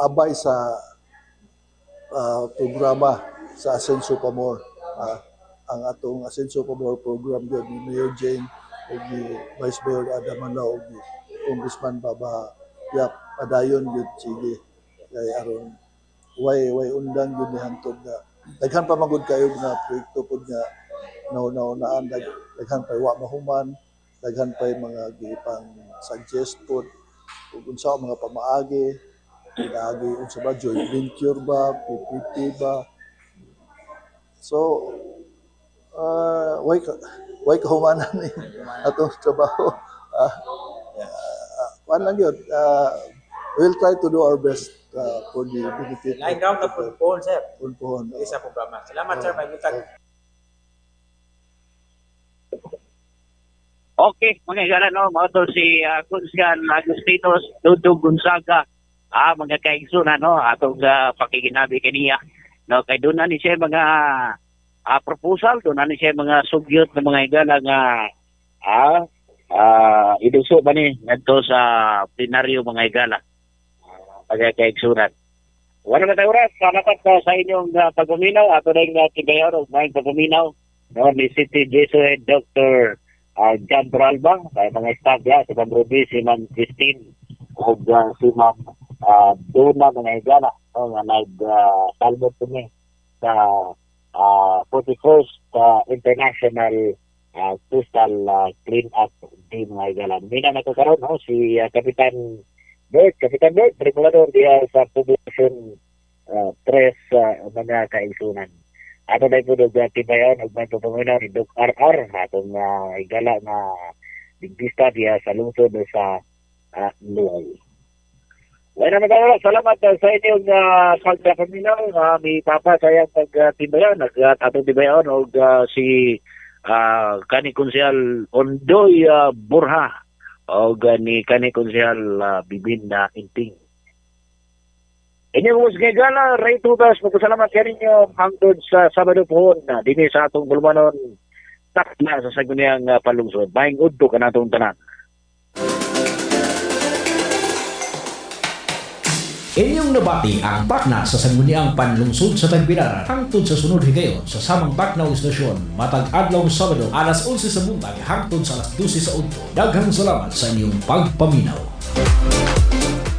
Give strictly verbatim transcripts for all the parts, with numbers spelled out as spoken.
abay sa ah, programa sa Asenso Pa More. Ah, ang atong Asenso Pa More program gyud ni Mayor Jane ug ni Vice Mayor Adam Manlao ug ni Congressman Baba Yap, padayon gyud, sige, kay aron way way undang gyud ni hantod nga daghan pa magud kayo nga proyekto pod nga nauna-unaan, dag, daghan pa wa mahuman, daghan pa mga gipang suggest pod ug unsa ang mga pamaagi, pinaagi unsa ba, joint venture ba, P P P ba. So uh, way ka way kahumanan ni atong trabaho. uh, uh, kuan lang yun, uh, we'll try to do our best uh, for the benefit Laing round na po pohon, sir. Pohon. Dili sa programa. Salamat, sir, may butag. Okay, mga higala, no, mao to si uh, Kunsian Agustinos Dudong Gonzaga. Ah, mga kaigsoon, no, atong uh, pakiginabi kaniya. No, kay doon na ni siya mga ah, proposal, doon na ni siya mga sugyot ng mga higala nga ah, ah, iduso ba ni ngadto sa plenaryo, mga higala. Uh, mga kaigsunan. Wala na tayo oras. Salamat uh, sa inyong uh, pagpaminaw. Ato na yung uh, tibayaw og maayong pagpaminaw. No, ni City Jesuit Doctor uh, John Toralba, kay mga staff ya, si Ma'am Ruby, si Ma'am Christine, ug uh, si Ma'am uh, Donna, mga higala, no, nga nag-salmot uh, kami sa uh, forty-first uh, International uh, Coastal uh, Clean Up Day, mga higala. Mina na ko karon, no, si uh, Kapitan Bert, Kapitan Bert, tripulador diha sa Poblacion uh, tres, uh, mga kaigsunan. Ato na po og tibayon og may papaminaw ni Doc R R, atong uh, higala nga dentista diha sa lungsod sa uh, Luay. Wala na tayo. Salamat uh, sa inyong uh, pagpapaminaw. Uh, mi papa sa iyang pagtibayon. Nag uh, atong tibayon og uh, si uh, kani Konsehal Ondoy uh, Borja og uh, ni kani Konsehal uh, Bibin na uh, Inting. Inyong uh, gala, Ray Tubas, magpasalamat kaninyo hangtod sa Sabado pohon na dinhi sa atong bulumanon takna sa sangguniang uh, palungsod. Maayong udto kanatong tanan. Inyong nabati ang pakna sa sangguniang panlungsod sa Tagbilaran hangtod sa sunod higayon sa samang pakna o istasyon matag adlaw Sabado alas onse sa buntag hangtod sa alas dose sa udto. Daghang salamat sa inyong pagpaminaw.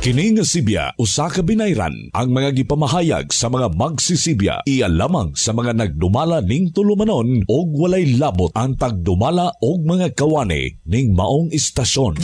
Kini nga sibya usa ka binayran. Ang mga gipamahayag sa mga magsisibya iya lamang sa mga nagdumala ning tulumanon og walay labot ang tagdumala og mga kawani ning maong istasyon.